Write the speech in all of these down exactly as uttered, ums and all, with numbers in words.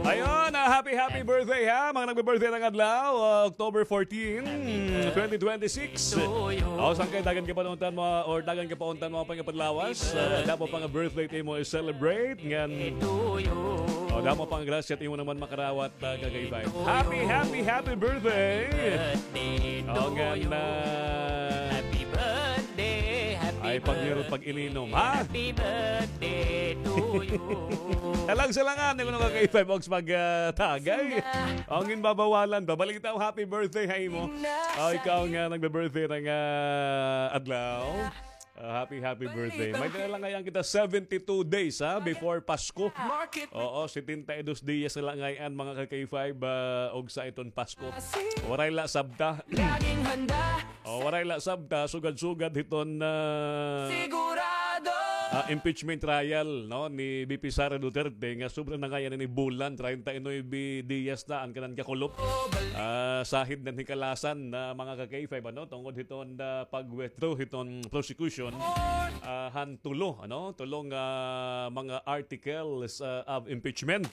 Ayun, ah, happy, happy birthday, ha? Mga nagbe-birthday ngada adlaw, ah, October fourteen, twenty twenty-six. O, sangkay, dagan ka pa unta, mga, or dagan ka pa unta, mga pangapadlawas. Ah, damo pa nga birthday it imo i-celebrate. Ngan, o, damo pa nga grasya it imo naman makarawat, ah, ka K five. Happy, happy, happy birthday! O, ngan, ah, ay, pag-, pag-ininom, ha? Happy birthday to you. Talag sa langan, ngan ka K five, og mag, ah, tagay. Ang ginbabawalan ba? Balita, happy birthday ha imo. Ah, ikaw nga nagbe-birthday ngada adlaw. Ah, happy, happy birthday. May dala la ngay-an kita seventy-two days, ha, before Pasko. Oo, setenta y dos dias na la ngay-an, mga ka K five, ah, og sa iton Pasko. Waray la sabta. O, waray la sabta, sugad-sugad hiton, ah, ah, impeachment trial, no, ni V P Sara Duterte, nga sobra na ngay-an ini bulan, treinta y nueve dias na an kanan kakulop. Ah, sahid na hikalasan na, mga ka K five, ano, tungod hiton, ah, pag-withdraw hiton prosecution, ah, han tulo, ano, tulo nga mga articles, ah, of impeachment.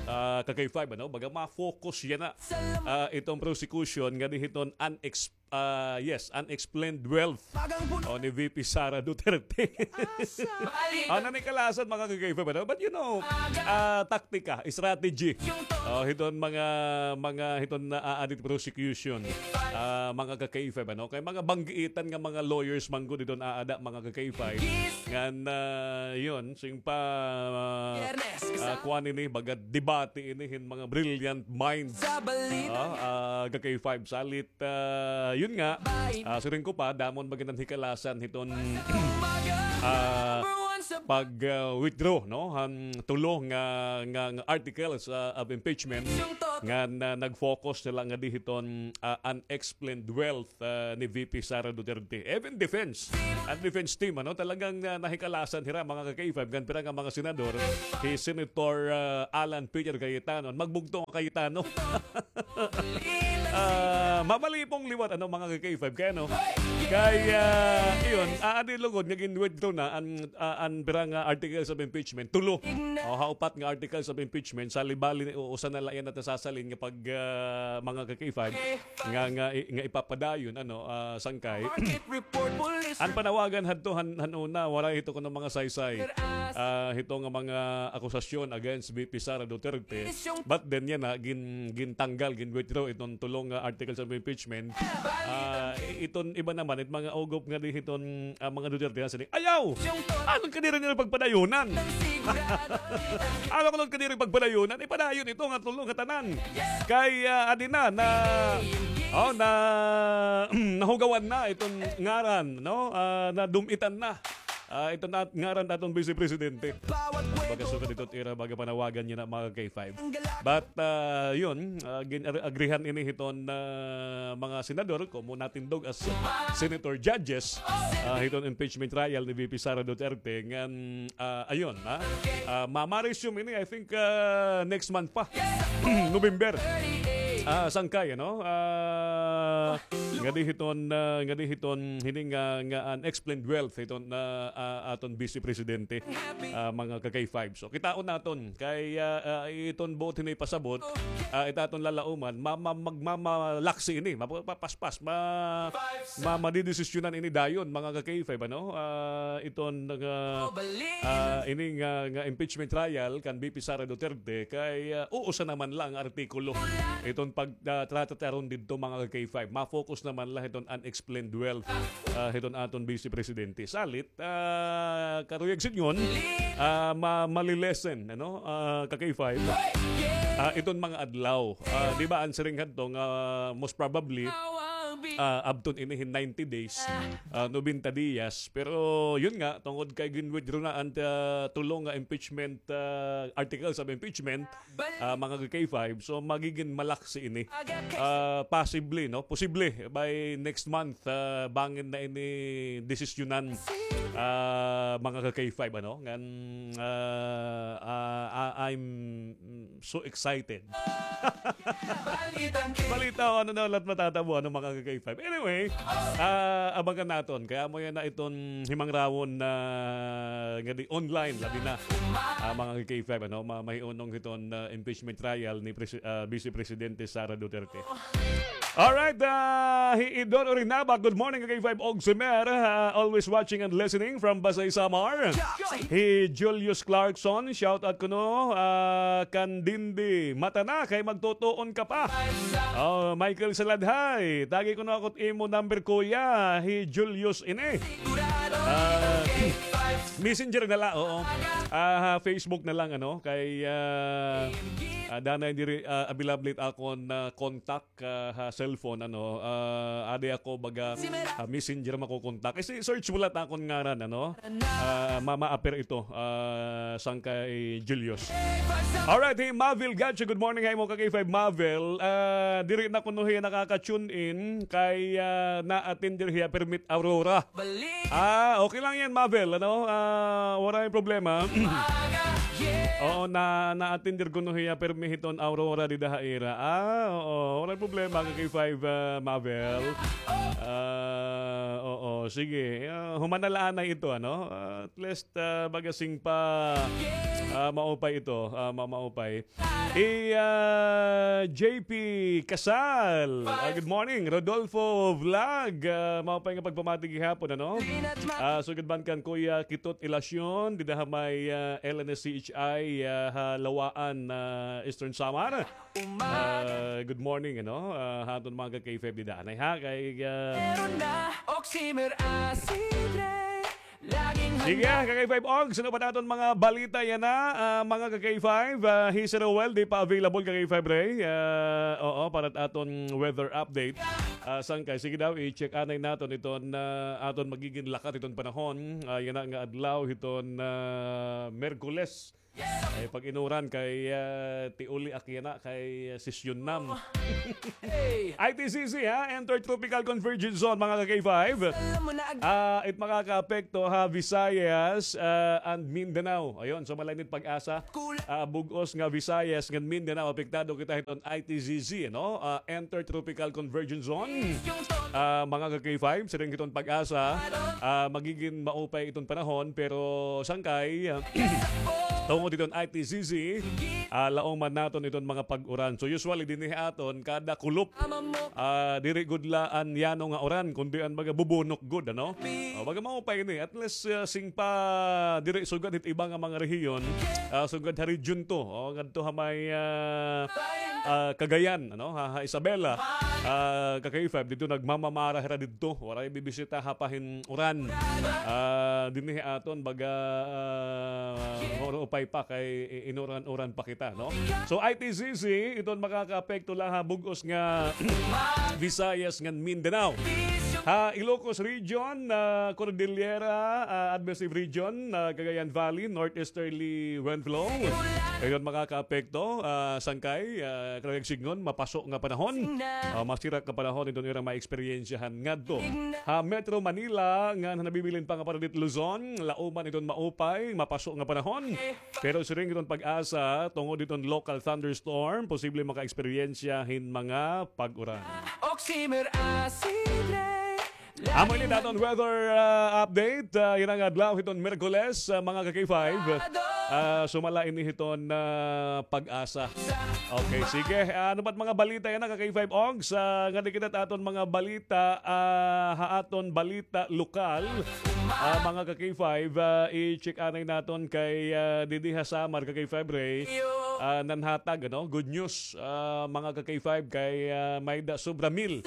Ah, ka K five, ano, baga ma-focus yana, ah, iton prosecution ngadi hiton unex-, ah, yes, unexplained wealth, o, ni V P Sara Duterte. An nanikalasan, mga ka K five, ano? But, you know, ah, taktika, strategy. O, hiton mga, mga hiton na aadit prosecution. Ah, mga ka K five, ano? Kay mga banggiitan nga mga lawyers man gud hiton aada, mga ka K five. Ngan, ah, yun, sing pa, ah, ah, kuan ini, baga debate ini hin mga brilliant minds. Ah, ah, ka K five, salit, ah, yun nga, ah, siring ko pa, damo man gud an hikalasan hiton, ah, pag, ah, withdraw, no, han tulo nga, nga, nga articles, ah, of impeachment nga na, nag-focus na la ngadi hiton, ah, unexplained wealth, ah, ni V P Sara Duterte. Even defense, an defense team, ano, talagang, ah, nahikalasan hira, mga ka K five, ngan pira nga mga senador, hi Senator, ah, Alan Peter Cayetano, magbugto nga Cayetano. Ah, mamalipong liwat, ano, mga ka K five, kay, ano? Kay, ah, iyon, ah, adi lugod nga gin-withdraw na an, ah, an pira nga articles of impeachment, tulo. O, ha upat nga articles of impeachment, sali-bali ni, usa na la yana it nasasalin nga pag, ah, mga ka K five, nga, nga, nga ipapadayon, ano, ah, sangkay. An panawagan hadto han, han una, waray hito kuno mga saysay. Ah, hito nga mga akusasyon against V P Sara Duterte. But then yana, gin-, gintanggal, gin-withdraw iton tulo nga articles of impeachment. Ah, i-, iton iba naman, it mga ugop ngadi hiton, ah, mga Duterte, nasiring, ayaw! Ano kadiri nira pagpadayunan? Ano kuno kadiri pagpadayunan? Ipadayon ito nga tulo nga tanan. Kay, ah, adi na, na, o, na, nahugawan na iton ngaran, no? Ah, nadum-itan na. Ah, iton at-, ngaran aton Vice Presidente. Baga sugad ito it ira baga panawagan yana, mga ka K five. But, ah, yun, ah, gin-, agrihan ini hiton, ah, mga senador, komo natindog as senator judges, ah, hiton impeachment trial ni V P Sara Duterte, ngan, ah, ayun, ha? Ah, ma-, ma-resume ini, I think, ah, next month pa. November. Ah, sangkay, ano? Ah, ngadi hiton, ah, ngadi hiton, hini nga, nga unexplained wealth hiton, ah, ah, aton Vice Presidente, ah, mga ka K five. So, kitaon naton. Kay, ah, ah, iton buot hini pasabot, ah, it aton lalauman, ma-, ma-, magmamalaksi ini, mapapaspas, ma-, ma-, madidesisyonan ini dayon, mga ka K five, ano? Ah, iton nga, ah, ini nga, nga impeachment trial kan V P Sara Duterte, kay, ah, uusa naman la nga artikulo. Iton pag, ah, trata taron didto, mga ka K five, ma-focus naman la hiton unexplained wealth, ah, hiton aton Vice Presidente. Salit, ah, karuyag sidngon, ah, ma-, malilesen, ano, ah, ka K five. Ah, iton mga adlaw. Ah, di ba, an siring hadto nga most probably, ah, abton ini hin ninety days, ah, nobenta dias. Pero, yun nga, tungod kay gin-withdraw na an, ah, tulo nga impeachment, ah, articles of impeachment, ah, mga ka K five. So, magigin malaksi ini. Ah, possibly, no? Posible by next month, ah, bangin na ini desisyonan, ah, mga ka K five, ano? Ngan, ah, ah, ah, I'm so excited. Balita o ano na la't matatabo, ano, mga ka-K five. Anyway, ah, abangan naton. Kay amo yana iton himangrawon na ngadi online, labi na, ah, mga ka-K five, ano, ma-, mahiunong hiton, ah, impeachment trial ni Presi-, ah, Vice Presidente Sara Duterte. Alright, ah, hi Idon Orinaba, good morning, K five Ogsimer, ah, always watching and listening from Basay, Samar. Hi Julius Clarkson, shout out kuno, ah, Kandindi, mata na, kay magtutuon ka pa. Oh, Michael Saladhay, tagi kuno ako it imo number, kuya, hi Julius ini. Ah, Messenger na la, oo. Ah, ha, Facebook na lang, ano, kay, ah, ah, danay diri, ah, available it akon, ah, contact ka ha cellphone, ano, ah, adi ako baga, ah, Messenger makokontak. Kasi search mo la it akon ngaran, ano? Ah, mama-appear ito, ah, sangkay Julius. Alright, hey, Mavel Gacho, good morning, hi mo ka K five Mavel. Ah, diri na kuno hiya nakaka-tune in kay, ah, na-attend diri hiya permit Aurora. Ah, okay lang yan, Mavel, ano? Ah, waray problema. Oo, na, na-attend diri kuno hiya permi hiton Aurora dida ha ira. Ah, oo, waray problema, ka K five, ah, Mavel. Ah, oo, sige. Ah, human na la anay ito, ano? Ah, at least, ah, baga singpa, ah, maupay ito, ah, ma-, maupay. Hi, ah, J P Casal. Ah, good morning, Rodolfo Vlog. Ah, maupay nga pagpamati gihapon, ano? Ah, sugad man kan Kuya Kitot Ilacion, dida ha may, ah, L N S C H I, ah, ha Lawaan, ah, Eastern Samar. Ah, good morning, ano? Ah, ha aton mga ka K five dida. Anay ha, kay, ah, Meron na Oximer Acid Ray. Sige, ka K five Og, sino pa naton mga balita yana, ah, mga ka K five, ah, hi Sir Roel, di pa available ka K five Ray. Ah, oo, para it aton weather update. Ah, sangkay, sige daw, i-check anay naton iton, ah, aton magigin lakat iton panahon. Ah, yana nga adlaw hiton, ah, Merkules. Ay, pag-inuran kay, ah, tiuli ak yana kay, ah, sesyon nam. I T C C, ha? Intertropical Convergence Zone, mga ka K five. Ah, it makakaapekto ha Visayas, ah, and Mindanao. Ayun, so malain it PAGASA. Ah, bug-os nga Visayas ngan Mindanao, apektado kita hiton I T C C, no? Ah, Intertropical Convergence Zone. Ah, mga ka K five, siring hiton PAGASA, ah, magigin maupay iton panahon, pero sangkay, ah, tungod hiton I T C C, ah, laong man naton iton mga pag-uran. So usually dinhi aton kada kulop, ah, diri gud la an yano nga uran, kundi an baga bubunok gud, ano? O, baga maupay ini. At least, ah, singpa diri sugad hit iba nga mga rehiyon, ah, sugad ha Region two, o, ngadto ha may, ah, ah, Cagayan, ano, ha, ha Isabela, ah, ka K five, didto nagmamamara hira didto. Waray bibisita ha pahin uran. Ah, dinhi aton baga, ah, maupay pa kay i-, inuran-uran pa kita, no? So, I T C C, iton makakaapekto la ha bug-os nga Visayas ngan Mindanao. Ha Ilocos Region, ah, Cordillera, ah, Administrative Region, ah, Cagayan Valley, Northeasterly Wind Flow. Iton makakaapekto, ah, sangkay, ah, karuyag sidngon, mapaso nga panahon. Ah, masirak nga panahon iton ira ma-eksperyensyahan ngadto. Ha Metro Manila, ngan ha nabibilin pa nga Paradit Luzon, lauman iton maupay, mapaso nga panahon. Pero siring iton PAGASA, tungod iton local thunderstorm, posible maka-eksperyensya hin mga pag-uran. Oximer Acid Ray. Amo ini it aton weather, ah, update, ah, yana nga adlaw hiton Miyerkules, ah, mga ka K five. Ah, sumala ini hiton, ah, PAGASA. Okay, sige. Ah, ano pa it mga balita yana, ka K five Ogs? Ah, ngadi kita ha aton mga balita, ah, ha aton balita lokal. Ah, mga ka K five, ah, i-check anay naton kay, ah, didi ha Samar, ka K five Ray. Ah, nanhatag, ano, good news, ah, mga ka K five, kay, ah, may-ada sobra mil,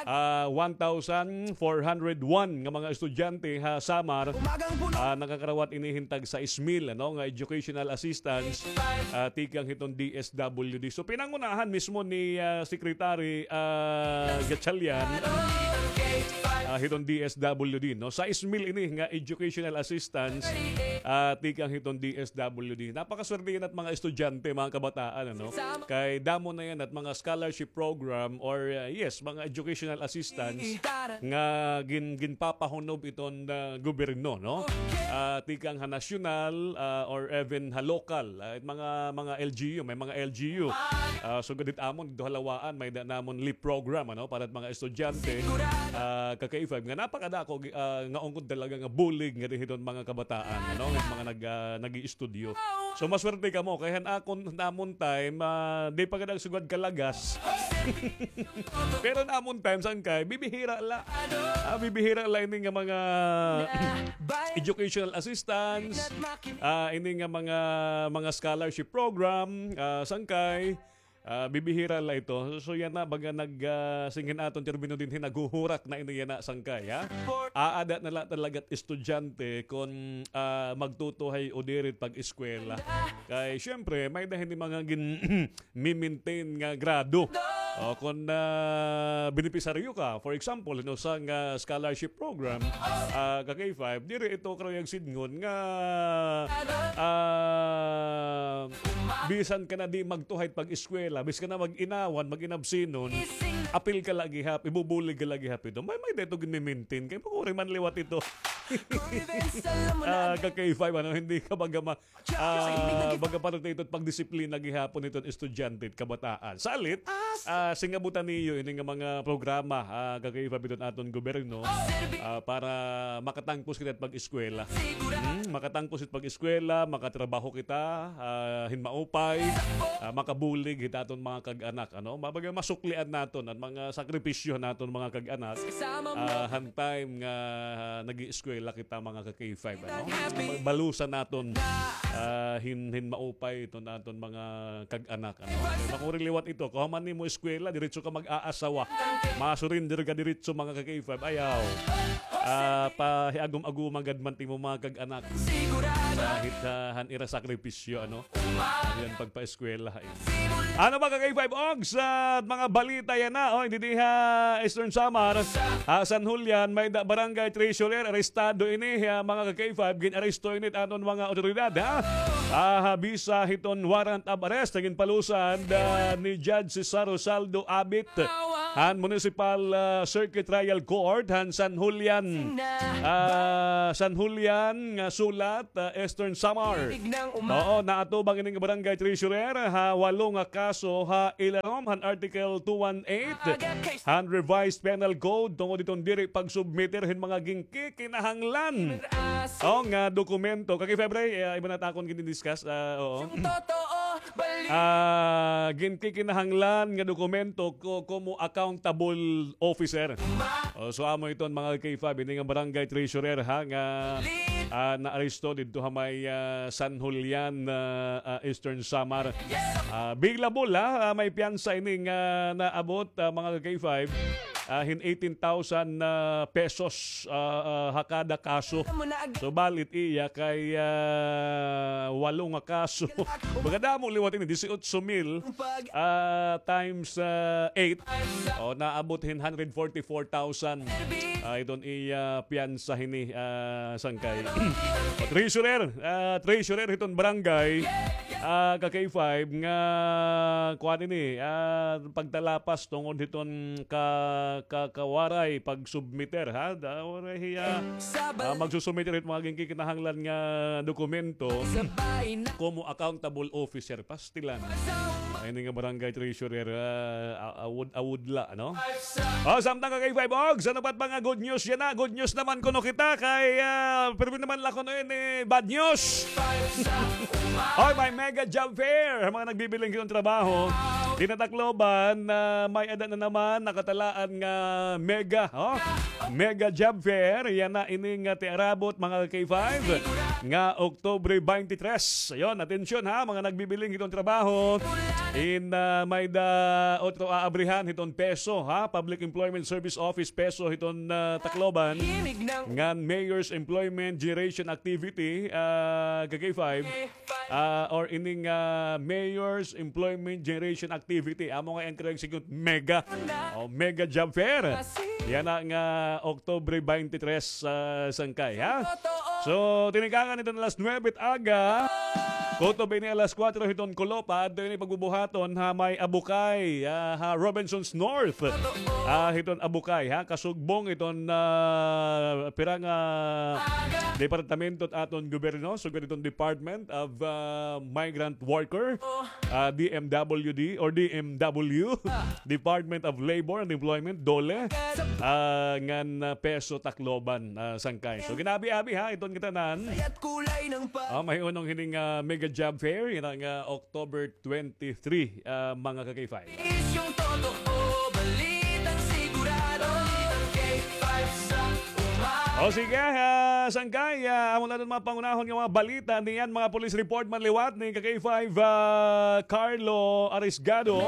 ah, one thousand four hundred one nga mga estudyante ha Samar, ah, nakakarawat ini hin tag sais mil, ano, nga educational assistance, ah, tikang hiton D S W D. So, pinangunahan mismo ni, ah, Secretary, ah, Gatchalian, ah, hiton D S W D, no? Sais mil ini nga educational assistance, ah, tikang hiton D S W D. Napakaswerte yana it mga estudyante. mga kabataan, ano? Kay damo na yana it mga scholarship program or, uh, yes, mga educational assistance nga gin-, ginpapahunob iton, uh, gobyerno, no? Ah, tikang ha nasyonal, ah, or even ha lokal, ah, it mga, mga L G U, may mga L G U. Ah, sugad hit amon didto ha Laua-an, may-ada namon LEAP program, ano, para it mga estudyante, ah, ka K five, nga napakadako, ah, nga ungod talaga nga bulig nga dinhi iton mga kabataan, ano, nga mga nag-, ah, nag-iistudyo. So, maswerte kamo. Kay han akon, namon time, ah, di pa gad ak sugad kalagas. Pero namon time, sangkay, bibihira la. Ah, bibihira la ini nga mga educational assistance, ah, ini nga mga, mga scholarship program, ah, sangkay, ah, bibihira la ito. So, yana, baga nag, ah, singin aton termino dinhi, naghuhurak na ini yana, sangkay, ha? Aada na la talaga it estudyante kon, ah, magtutuhay o diri it pag-eskwela. Kay, syempre, may-ada hini mga gin-, mi-maintain nga grado. O, kon, ah, benepisaryo ka, for example, hin usa nga scholarship program, ah, ka K five, diri ito karuyag sidngon nga, ah, bisan ka na di magtuhay it pag-eskwela, bisan ka na mag-inawan, mag-inabsenon, apil ka la gihap, ibubulig ka la gihap ito. May, may-ada ito gin-maintain. Kay makuri man liwat ito. Ah, ka K five, ano, hindi ka baga ma-, Ah, baga parte ito it pagdisiplina gihapon hiton estudyante, kabataan. Salit, ah, singabutan niyo ini nga mga programa, ah, ka K five hiton aton gobyerno, ah, para makatangkos kita it pag-eskwela. Hmm, makatangkos it pag-eskwela, makatrabaho kita, ah, hin maupay, ah, makabulig hit aton mga kag-anak, ano? Mabaga masuklian naton an mga sakripisyo naton mga kag-anak, ah, han time nga nag-ieskwela kita mga ka K five, ano? Balusan naton, ah, hin, hin maupay iton aton mga kag-anak, ano? Makuri liwat ito, kahuman nimo eskwela, diretso ka mag-aasawa. Ma-surrender ka diretso, mga ka K five, ayaw. Ah, pahiagum-aguman gad man it imo mga kag-anak. Kahit, ah, han ira sakripisyo, ano? Ano yan, pagpaeskwela, eh. Ano ba, ka K five Ogs, sa mga balita yana? O, didi ha Eastern Samar, ha San Julian, may-ada barangay treasurer, arestado ini, ha, mga ka K five, gin-aresto ini it aton mga otoridad, ha? Ah, ha bisa hiton warrant of arrest, ginpalusad, ah, ni Judge Cesar Rosaldo Abit han Municipal, ah, Circuit Trial Court han San Julian, ah, San Julian nga sulat, ah, Eastern Samar. Oo, naatubang ini nga barangay treasurer ha walo nga kaso ha ilarom han Article two one eight han Revised Penal Code tungod hiton diri pagsubmiter hin mga ginkikinahanglan, o, nga dokumento. Ka K five, ah, iba na it akon gin-discuss, ah, oo. Ah, ginkikinahanglan nga dokumento ko-, komo accountable officer. O, so amo iton mga ka K five, ini nga barangay treasurer, ha, nga, ah, naaresto didto ha may, ah, San Julian, ah, ah, Eastern Samar. Ah, bailable, ha, ah, may piyansa ini nga naabot, ah, mga ka K five, ah, hin eighteen thousand, ah, pesos, ah, ah, ha kada kaso. So, balit iya kay, ah, walo nga kaso. Baga damo liwat ini, dieciocho mil, ah, times, ah, eight. O, naabot hin hundred forty-four thousand. Ah, iton iya piyansa hini, ah, sangkay. Treasurer, ah, treasurer hiton barangay, ah, ka K five nga kuan ini, ah, pagtalapas tungod hiton ka-, ka-, kawaray pagsubmiter, ha? Da, waray hiya, ah, magsusumiter hit mga ginkikinahanglan nga dokumento komo accountable officer. Pastilan. Ay, ini nga barangay treasurer, ah, a-, awod, awod la, no? O, samtang ka K five Ogs, ano pa it mga good news yana? Good news naman kuno kita kay, ah, pirmi naman la kuno ini bad news. Oy, may mega job fair. Mga nagbibiling hiton trabaho dinhi ha Tacloban, ah, may-ada na naman nakatalaan nga mega, o. Mega job fair, yana ini nga tiarabot, mga ka K five, nga Oktubre twenty-three. Ayon, atensyon ha, mga nagbibiling hiton trabaho. In, ah, may-ada otro aabrihan hiton PESO, ha, Public Employment Service Office, PESO hiton, ah, Tacloban. Ngan Mayor's Employment Generation Activity, ah, ka K five. Ah, or ining, ah, Mayor's Employment Generation Activity. Amo nga iya karuyag sidngon mega. O, mega job fair. Yana nga Oktubre twenty-three, ah, sangkay, ha? So, tinikangan iton alas nuebe it aga. Kutob ini alas kuwatro hiton Kulop, ha, adto ini pagbubuhaton ha may Abukay, ah, ha Robinsons North. Ah, hiton Abukay, ha, kasugbong hiton, ah, pira nga departamento hit aton gobyerno, sugad hiton Department of, ah, Migrant Worker, ah, D M W D or D M W, Department of Labor and Employment, DOLE, ah, ngan, ah, PESO Tacloban, ah, sangkay. So, gin-abi-abi, ha, iton ngatanan. Ah, mahihunong hining, ah, mega job fair, yana nga October twenty-three, ah, mga ka-K five. Is yung totoo, balitang sigurado, balitang K five sa umaga. O sige, ah, sangkay, ah, amo na an mga pangunahon nga mga balita niyan, mga police report man liwat ni ka-K five, ah, Carlo Arisgado.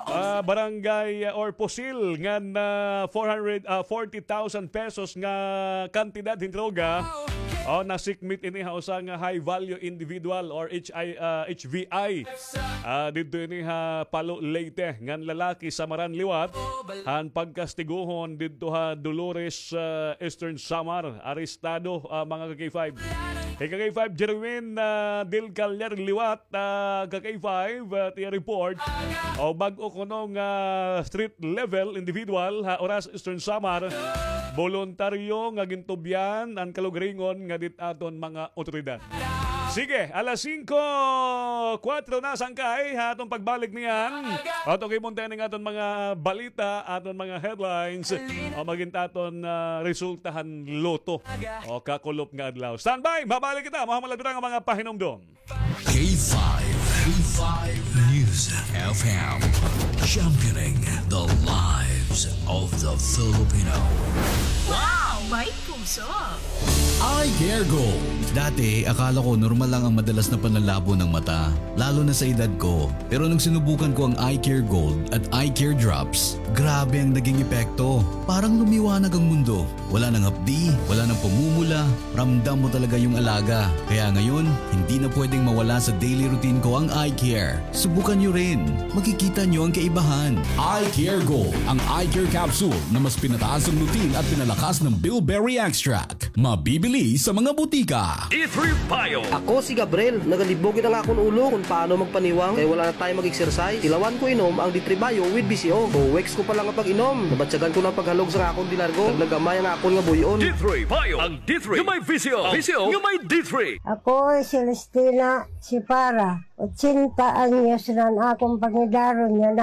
Ah, barangay, ah, or pusil ngan, ah, four hundred, ah, forty thousand pesos nga kantidad hin droga. O, nasikmit ini ha usa nga high value individual or H I, ah, H V I. Ah, didto ini ha Palo, Leyte, ngan lalaki samaran liwat han pagkastiguhon didto ha Dolores, ah, Eastern Samar. Arestado, ah, mga ka-K five. Hi ka-K five Jerwin, ah, Del Callar liwat, ah, ka-K five, ah, it iya report. O bag-o kuno nga street level individual ha Oras, Eastern Samar. Boluntaryo nga gintubyan an kalugaringon nga dit aton mga awtoridad. Sige, alas singko, kuwatro na sangkay ha aton pagbalik niyan. Ato kay munta ning aton mga balita, aton mga headlines. O magin aton, ah, resulta han lotto. O kakulop nga adlaw. Standby, mabalik kita. Mahuman la pira nga mga pahinumdom. K five, K five News F M, championing the lives of the Filipino. Wow! May puso! Eye Care Gold. Dati, akala ko normal lang ang madalas na panlalabo ng mata, lalo na sa edad ko. Pero nung sinubukan ko ang Eye Care Gold at Eye Care Drops, grabe ang naging epekto. Parang lumiwanag ang mundo. Wala nang hapdi, wala nang pamumula, ramdam mo talaga yung alaga. Kaya ngayon, hindi na pwedeng mawala sa daily routine ko ang eye care. Subukan nyo rin. Makikita nyo ang kaibahan. Eye Care Gold, ang eye care capsule na mas pinataas ang lutein at pinalakas ng bilberry extract. Mabibili sa mga butika. D three Bio. Ako si Gabriel. Nagalibog it ang akon ulo kon paano magpaniwang kay wala na time mag-exercise. Tilawan ko inom ang D three Bio with V C O. Two weeks ko pa lang nga pag-inom, nabatyagan ko na an paghalog sa akon dinargo. Nagnagamay ang akon nga buy-on. D three Bio. Ang D three nga may V C O. V C O nga may D three. Ako si Celestina Sipara. Ochenta anyos na an akon pangidaron nga